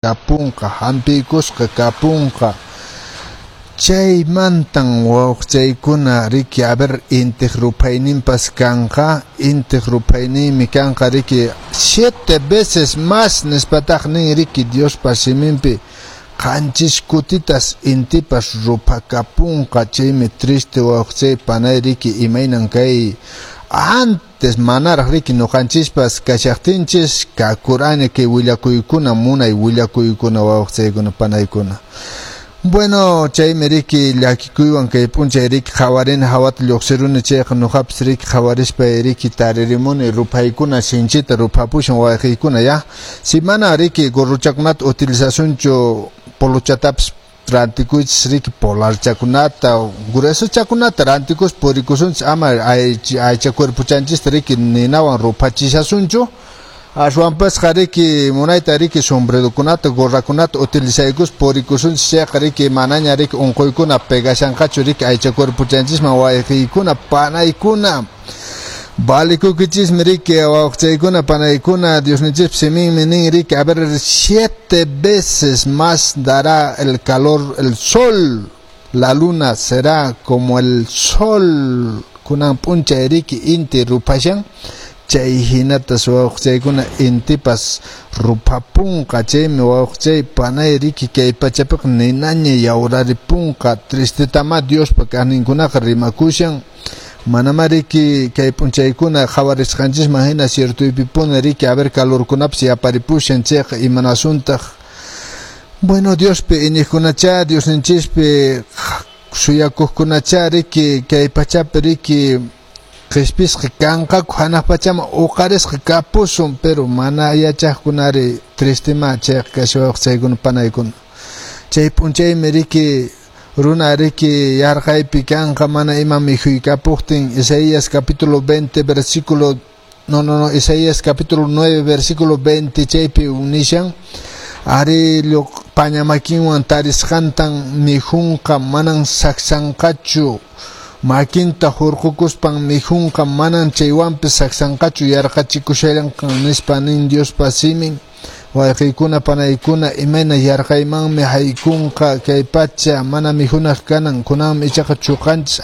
Kapunqa, hampiykusqa kapunqa. Chaymantan wawqichaykuna riki, a ver, intiq ruphayninpas kanqa, intiq ruphayninmi kanqa riki 7 veces más nispataq nin riki Diospa siminpi 7 kutitas intipas ruphakapunqa. Chaymi triste wawqichay panay riki imaynan kay antes manaraq riki ñuqanchispas kashaqtinchis kakurani kay willakuykuna munay willakuykuna wawqichaykuna panaykuna. Bueno, chaymi riki llakikuywan kay p'unchay riki qhawarini hawata lluqsiruni chayqa ñuqapas riki qhawarispa riki taririmuni ruphaykuna sinchita ruphapushan wayqiykuna ya. Si mana riki gorrochakunata utilizasunchu polochatapas rantikuychis riki polarchakunata gruesochakunata rantikus purikusunchis ama aycha cuerpochanchista riki ninawan ruphachisasunchu. Ashwanpasqa riki munayta riki sombrerokunata gorrakunata utilizaykus purikusunchis chayqa riki manaña riki unquykuna pegashanqachu riki aycha cuerpochanchisman wayqiykuna panaykuna. Valikukichismi riki wawqichaykuna panaykuna Diosninchispa siminmi nin riki a ver 7 veces más dará el calor el sol, la luna será como el sol kunan p'unchay riki inti ruphashan. Chay hinatas wawqichaykuna intipas ruphapunqa. Chaymi wawqichay panay riki kay pachapiqa ninaña yawraripunqa. Tristetama Diospa kaqninkunaqa rimakushan. Manama riki kay p'unchaykuna qhawarisqanchisman hina ciertoypipuni riki a ver calorkunapas yaparipushan chayqa imanasuntaq. Bueno, Diospi iñiqkunacha Diosninchispi suyakuqkunacha riki kay pachapi riki qhispisqa kanqaku hanaq pachaman uqarisqa kapusun, pero mana yachaqkunari tristima chayqa kashawaykuna panaykuna. Chay p'unchaymi riki runa riki yarqaypi kanqa mana ima mikhuykapuqtin. Isaías capítulo 20 versículo no Isaías capítulo 9 versículo 20 chaypi unishan ari paña makinwan tarisqantan mikhunqa manan saksanqachu makinta hurqukuspan mikhunqa manan chaywanpis saksanqachu yarqachikushallanqan nispa nin Diospa simin. Wayqiykuna panaykuna imayna yarqaymanmi haykunqa kay pacha mana mikhunaq kanan kunanmi ichaqa chuqanchis.